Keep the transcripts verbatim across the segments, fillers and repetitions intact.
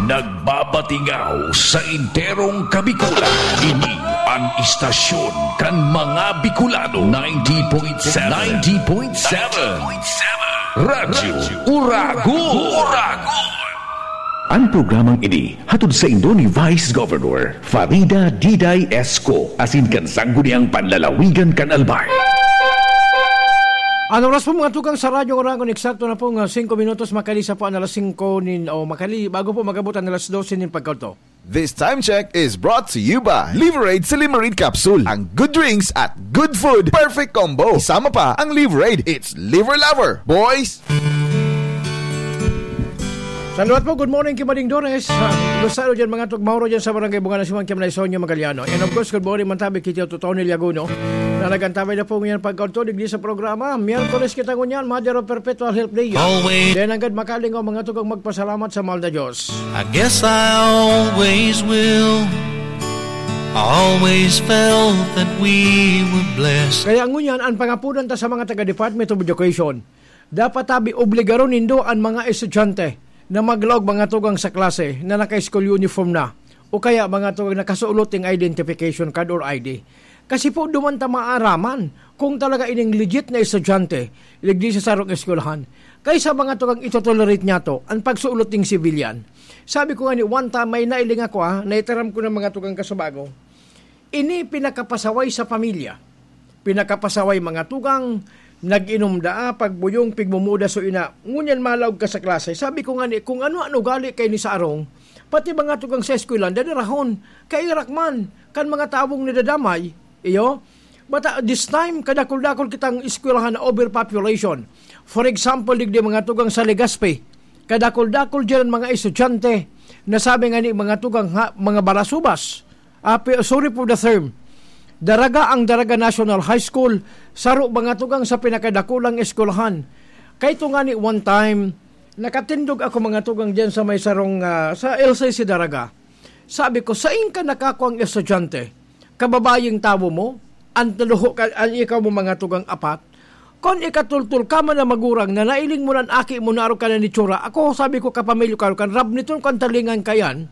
Nagbabatingaw sa enterong Kabikulan. Ini an istasyon kan mga Bicolano, ninety point seven. ninety point seven. Radyo Uragon. An programang ini hatod saindo ni Vice Governor Farida Diday Esco, asin kan Sangguniang Panlalawigan kan Albay. An oras po, mga tugang, sa Radyo Uragon, eksakto na po nga singko minutos makali sa po an alas singko nin, o makali, bago po mag-abot an alas dose nin pagkaudto. This time check is brought to you by Liverade Silimarid Capsule. Ang good drinks at good food, perfect combo. Isama pa ang Liverade, it's liver lover, boys! Saluat po, good morning, Kimading Dores. Ah, Luzano dyan, mga tug-, Mauro dyan sa Barangay Bunga na Siman, Kimanay Sonyo Magaliano. And of course, good morning, Mantabi, Kitio Totoni Liaguno. Na nagantabay na po ngayon pagkaudto digdi sa programa. Miyerkules kita ngunyan, Mother of Perpetual Help Day. Always. Then, hanggang makalingaw, mga tugang, magpasalamat sa mahal na Diyos. I guess I always will. I always felt that we were blessed. Kaya ngunyan, ang pangapunan ta sa mga taga-Department of Education, dapat tabi obligaron nindo an mga estudyante na maglaog, mga tugang, sa klase na naka-school uniform na o kaya, mga tugang, nakasuot ning identification card or I D. Kasi po, duman ta maaraman kung talaga ining legit na estudyante digdi sa sarong eskwelahan. Kaysa, mga tugang, itotolerate niyato an pagsuot ning civilian. Sabi ko nga ni, one time, may nailing ako, ah, naitaram ko ng mga tugang kasubago. Ini pinakapasaway sa pamilya. Pinakapasaway, mga tugang, nag-inom daa, pagbuyong, pigmumuda so ina. Ngunyan malaog ka sa klase. Sabi ko nga ni, kung ano an ugali kaini sa arong, pati mga tugang sa eskwelahan, dadarahon, kairak man, kan mga tawong nadadamay, iyo. But, uh, this time, kadakul-dakul kitang eskwelahan na overpopulation. For example, digdi mga tugang sa Legazpi, kadakul-dakul dyan ang mga estudyante na sabi nga ni mga tugang ha, mga balasubas. Ah, pe-, sorry for the term. Daraga ang Daraga National High School, saro mga tugang sa pinakadakulang eskwelahan. Kay ito nga ni one time, nakatindog ako mga tugang dyan sa may sarong, ah, sa L C C Daraga. Sabi ko, "Sain ka nakakuang estudyante? Kababayeng tawo mo? An tuluho ka, an ikaw mo mga tugang apat? Kon ikatultol ka man na magurang na nailing mo nan aki mo na arog ka na nitsura, ako, sabi ko, kapamilyo ka, kan rab niton kan talingan kayan."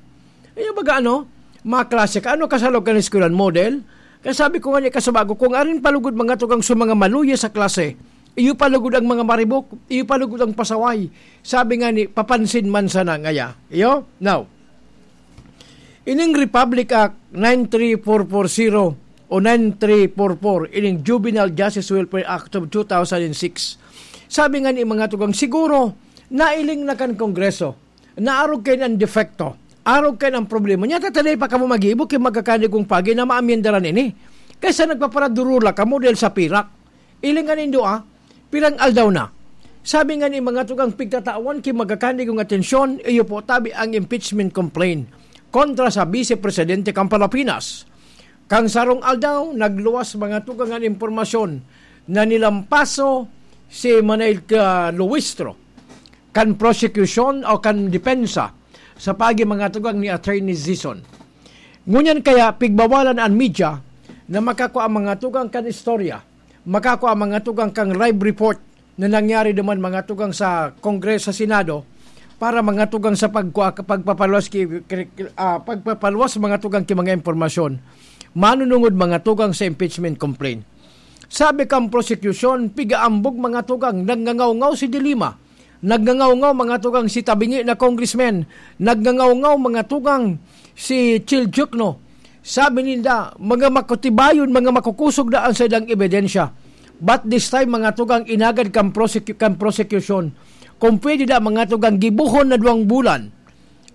Iyo baga ano, mga klase ka, ano ka sa loob kan eskwelahan, model? Kaya sabi ko nga ni kasubago, kung arin palugod mga tugang sa mga maluya sa klase, iyo palugod ang mga maribok, iyo palugod ang pasaway. Sabi nga ni, papansin man sana ngaya. Iyo? Now, ining Republic Act nine three four four zero o nine three four four, ining Juvenile Justice Welfare Act of two thousand six. Sabi nga ni mga tugang, siguro, nailing na kan Kongreso, naarog kaini an depekto, arog kaini an problema. Nya, tataday pa kamo mag-iibo ki magkakanigong pagi na maamyendaran ini. Kaysa nagpaparadurula kamo dahil sa pirak. Ilingan nindo, ah, pirang aldaw na. Sabi nga ni mga tugang pigtatawan ki magkakanigong atensyon, iyo po tabi ang impeachment complaint kontra sa Vice Presidente kan Palapinas. Kan sarong aldaw, nagluwas mga tugang an impormasyon na nilampaso si Manay, ah, Luistro kan prosekusyon o kan depensa sa pagi mga tugang ni Attorney Zison. Ngunyan kaya pigbawalan an media na makakua mga tugang kan istorya, makakua mga tugang kan live report na nangyari duman mga tugang sa Kongreso, sa Senado, para mga tugang sa pagkua-, pagpapaluwas ki-, ki-, ah, pagpapaluwas mga tugang ki mga impormasyon. Manunungod mga tugang sa impeachment complaint. Sabi kan prosekusyon, pigaambog mga tugang, nagngangawngaw si De Lima. Nagngangawngaw mga tugang si tabingi na congressman. Nagngangawngaw mga tugang si Chil Diokno. Sabi ninda, mga makutibayon, mga makukusog na ang saindang ebidensya. But this time, mga tugang, inagad kan prosecu-, kan prosekusyon. Kung pwede na, mga tugang, gibohon na duwang bulan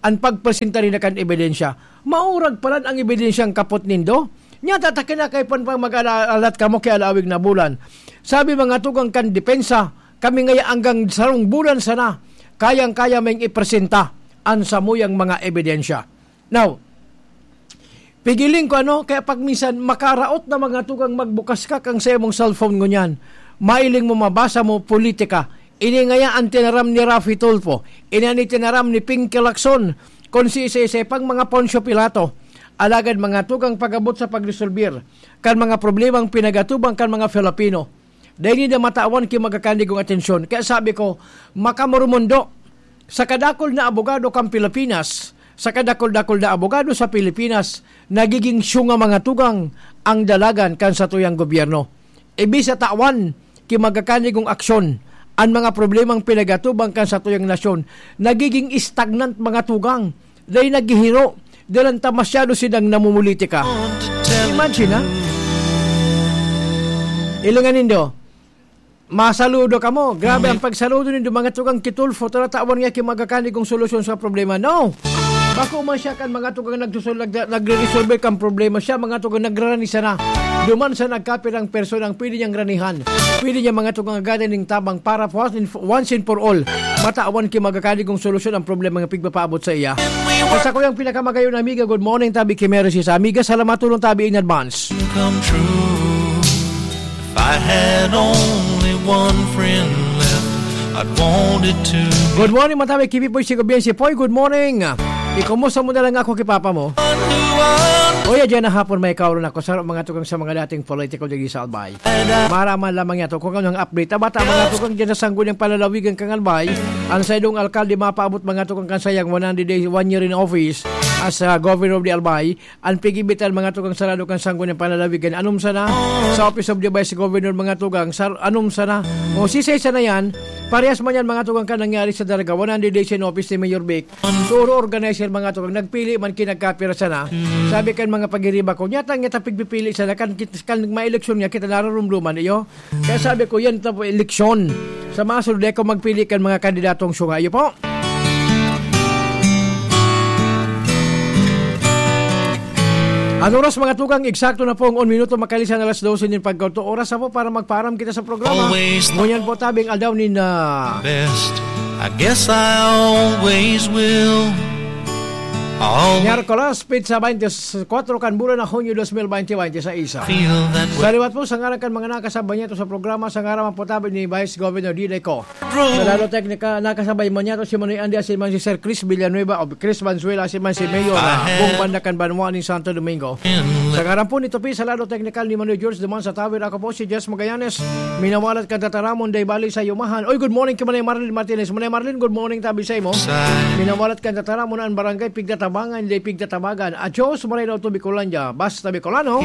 an pagpresenta ninda kan ebidensya. Maurag palan ang ebidensyang kapot nindo. Nya, tatakin na kay pan pang mag-ala-, alat kamo ki alawig na bulan. Sabi mga tugang kan depensa, kami ngaya anggang sarong bulan sana, kayang-kaya ming ipresenta an samuyang mga ebidensya. Now, pigiling ko ano, kaya pag minsan makaraot na mga tugang magbukas ka kang sa imong cellphone ngunyan, mailing mo mabasa mo politika. Ini ngaya ang tinaram ni Raffy Tulfo, ini ang tinaram ni Pinky Lacson, kon si isa-isa pang mga Poncio Pilato. Alagad mga tugang pag-abot sa pagresolbir kan mga problemang pinagatubang kan mga Filipino, dai ninda matawan ki magkakanigong atensyon. Kaya sabi ko, makamurumundo sa kadakul na abogado kan Pilipinas, sa kadakul-dakul na abogado sa Pilipinas, nagiging syunga mga tugang ang dalagan kan satuyang gobyerno. Imbis na tawan ki magakanigong aksyon an mga problemang pinag-atubang kan satuyang nasyon, nagiging stagnant mga tugang. Dai naghihiro, dahil ta masyado silang namumulitika. Imagine, ha? Ilingan nindo, masaludo kamo. Grabe ang pagsaludo nindo, mga tugang Kitulfo. Tara, tawan niya ki magakanigong solusyon sa problema. No! Bako man siya kan mga tugang nagsusol-, nag-, nagre-resolve kan problema. Siya, mga tugang, nagrarani sana. Duman sa nagkapirang personang pwede niyang ranihan. Pwede niya, mga tugang, agadan ning tabang para once and, once and for all. Matawan ki magakanigong solusyon ang problema nga pigpapaabot sa iya. Sa sakuyang pinakamagayon na amiga, good morning, tabi ki Mary, si sa amiga, salamat tulong tabi in advance. Come true. If I had only one friend left, I'd want it to. Good morning, matabi ki Pipoy, si Gobien, si Poy. Good morning. Ikumusta mo na lang ako ki Papa mo? Oya, dyan na hapon may kauron ako. Sarap mga tugang sa mga dating political dyan sa Albay. Maraman lamang yato kung anong update. Tabata mga tugang dyan sa Sangguniang Palalawigan kang Albay. Ang saidong alkalde mapaabot mga tugang kan sayang one hundred days, one year in office as uh, governor of the Albay. An pigbibital mga tugang sarado kan Sangguniang Palalawigan, anom sana sa Office of the Vice Governor mga tugang, sar-, anom sana. O sisay sana yan, parehas man yan mga tugang kan nangyari sa Dalaga, one hundred days in office ni Mayor Vic. Suro organizer mga tugang, nagpili man ki nagkapira sana. Sabi kan mga pagiriba ko, nyata, nyata pigpipili sana, kan, kit-, kan maeleksyon niya, kita nararumduman iyo. Kaya sabi ko, yan ta po eleksyon. Sa masunod, ikaw magpili kan mga kandidatong sunga. Iyo po. Ang oras, mga tugang, eksakto na pong un minuto makalisan alas dose nin pagkaudto. Oras na po para magpaaram kita sa programa. Always. Ngunyan po tabing aldaw nin, ah, best. I guess I always will. Always. Miyerkules, petsa twenty-four kan bulan na Hunyo dos mil bente bente sa isa. Feel that way. Sa liwat po, sa ngaran kan mga nakasabay niya ito sa programa, sa ngaran man po tabi ni Vice Governor Diday Co. Sa lado teknika, nakasabay man niya ito si Manoy Andy, asin man si Sir Chris Villanueva o Chris Valenzuela, asin man si Mayor, ah, Bong Banda kan Banwa ning Santo Domingo. Sa ngaran po ni Topi, sa lado teknikal ni Manoy George Duman sa Tower, ako po si Jess Magallanes. Minawalat kan tataramon, day bali sa Yumahan. Oy, good morning kay Manay Marlene Martinez. Manay Marlene, good morning, tabi sa imo. Minawalat kan tataramon an barangay Pigtatabangan, day Pigtatabagan. Adios, Manay daw to Bicolandia. Basta Bicolano.